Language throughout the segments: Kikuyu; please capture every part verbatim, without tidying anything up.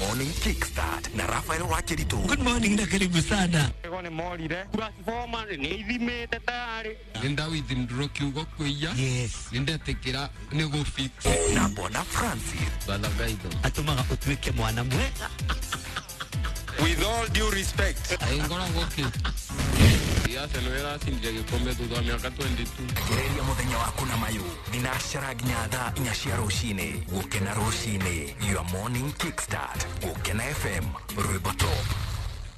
Morning Kickstart na Rafael Wakeritu. Good morning na karibu sana. Ego nĩ morire transformer nĩ ithimĩte tayarĩ. Nĩ ndawithdraw kiugo kwĩia. Yes. Nĩ ndetĩkĩra nĩ gũ fix. Na Bwana Francis. Batha gaitho. Atũmaga ũtuĩke mwana mwega. With all due respect. Ngoragwo kĩ Arsenal ĩracindire gĩkombe thutha wa mĩaka mĩrongo ĩĩrĩ na ĩĩrĩ. Gereria muthenya waku na mayu thinacara nginya thaa inya cia rucini. Gukena rucini, your morning kickstart. Gukena F M, rwimbo top.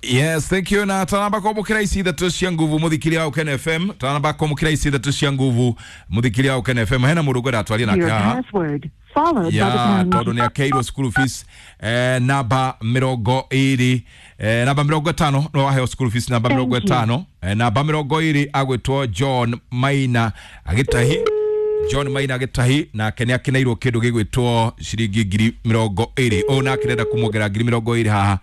Yes, thank you. Na tanamba kwamukira ici ithatũ cia nguvu, muthikiria wa Ukena F M. Tanamba kwamukira ici ithatũ cia nguvu, muthikiria wa Ukena F M. Hena mũndũ ngwenda twarie nake Your haha. password followed by the Ya pound. tondũ nĩ akeirwo school fees, eh, namba mĩrongo ĩrĩ, eh, namba mĩrongo ĩtano no waheo school fees, namba mĩrongo Thank you. ĩtano, eh, namba mĩrongo ĩrĩ agwĩtwo John Maina agĩtahi. John Maina agĩtahi nake nĩ akeneirwo kĩndũ gĩgwĩtwo ciringi ngiri mĩrongo ĩrĩ. Ũyũ nake ndenda kũmuongerera ngiri mĩrongo ĩrĩ haha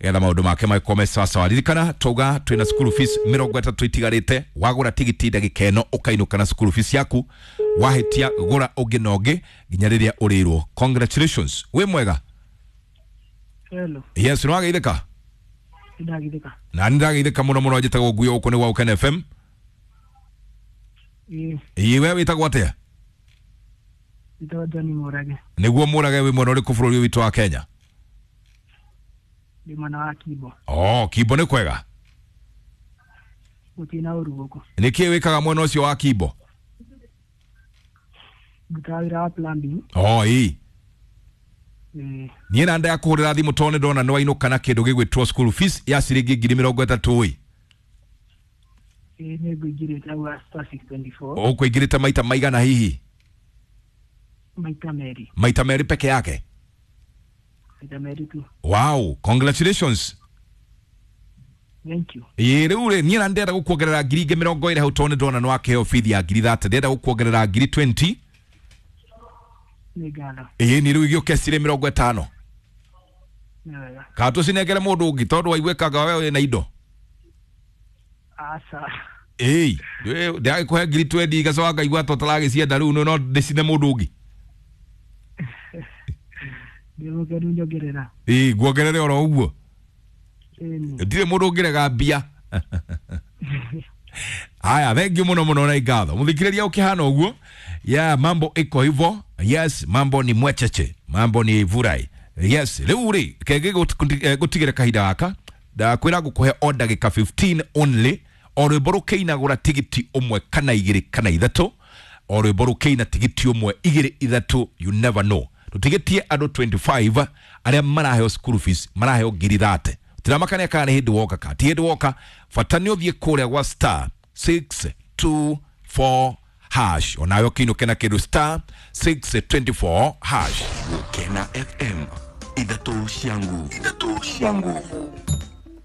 getha maũndũ make magĩkorwo me sawasawa. Ririkana twauga twĩna school fees mĩrongo ĩtatũ itigarĩte. Wagũra tigiti ndagĩka ĩno ũkainũka na school fees yaku. Wahĩtia, gũra ũngĩ na ũngĩ nginya rĩrĩa ũrĩrwo. Congratulations, wĩ mwega. Hello. Yes, nĩ wageithĩka? Ndagithika. Na nĩ ndageithĩka mũno mũno. Njĩtagwo Nguyo, gũkũ nĩ gwa Ũkena F M. Ĩĩ. Ĩĩ, we wĩtagwo atĩa? Njĩtagwo John Mũrage. Nĩguo Mũrage, wĩ mwena ũrĩkũ bũrũri ũyũ witũ wa Kenya? Ndĩ mwena wa Kimbo. Oh, Kimbo nĩ kwega? Gũtirĩ na ũru gũkũ. Nĩ kĩĩ wĩkaga mwena ũcio wa Kimbo? Ndutaga wĩra wa plumbing. Oh, ĩĩ. Ĩĩ. Niĩ na ndaya kũhũrĩra thimũ tondũ nĩ ndona nĩ wainũka na kĩndũ gĩgwĩtwo school fees ya ciringi ngiri mĩrongo ĩtatũ ĩ. Ĩĩ, nĩ ngũingĩrĩte hau wa star six twenty-four. Ũkũingĩrĩte maita maigana hihi? Maita merĩ. Maita merĩ peke yake? Maita merĩ tu. Wow, congratulations. Thank you. Ĩĩ, rĩu rĩ, niĩ na ndĩrenda gũkuongerera ngiri ingĩ mĩrongo ĩrĩ hau tondũ nĩ ndona nĩ wakĩheo bithi ya ngiri thirty. Ndĩrenda gũkuongerera ngiri mĩrongo ĩĩrĩ. Nĩ ngatho. Ĩĩ, nĩ rĩu igĩũke cirĩ mĩrongo ĩtano. Nĩ wega. Kana tũcinengere mũndũ ũngĩ tondũ waiguĩkaga we wĩna indo? Aca. Ĩĩ, ndĩragĩkũhe ngiri mĩrongo ĩĩrĩ igacoka ngaigua ta ũtaragĩcienda. Rĩu no ndĩcine mũndũ ũngĩ. Ndĩ mũkenu, nyongerera. Ĩĩ, nguongerere oro ũguo. Ĩni. Ndirĩ mũndũ ũngĩrega mbia. Haya, thank you muno muno na ngatho, muthikiriria. Ukihana ũguo ya mambo iko hivyo. Yes, mambo ni mwecheche, mambo ni vurai. Yes, rĩu rĩ kenge gũtigĩre kahinda gaka ndakwĩra ngũkũhe o ndagĩka fifteen only. O rwĩmbo rũkĩina, gũra tigiti ũmwe kana igĩrĩ kana ithatũ. O rwĩmbo rũkĩina, tigiti ũmwe, igĩrĩ, ithatũ. You never know. Tũtigĩtie andũ mĩrongo ĩĩrĩ na ithano arĩa maraheo school fees, maraheo ngiri thirty. Tiramakania kana nĩ hĩndĩ woka ka ti hĩndĩ woka. Bata nĩ ũthiĩ kũrĩa gwa star six two four hash, onawe ũkĩinũke na kĩndũ star six two four hash. Gukena F M, ithatũ cia nguvu, ithatũ cia nguvu.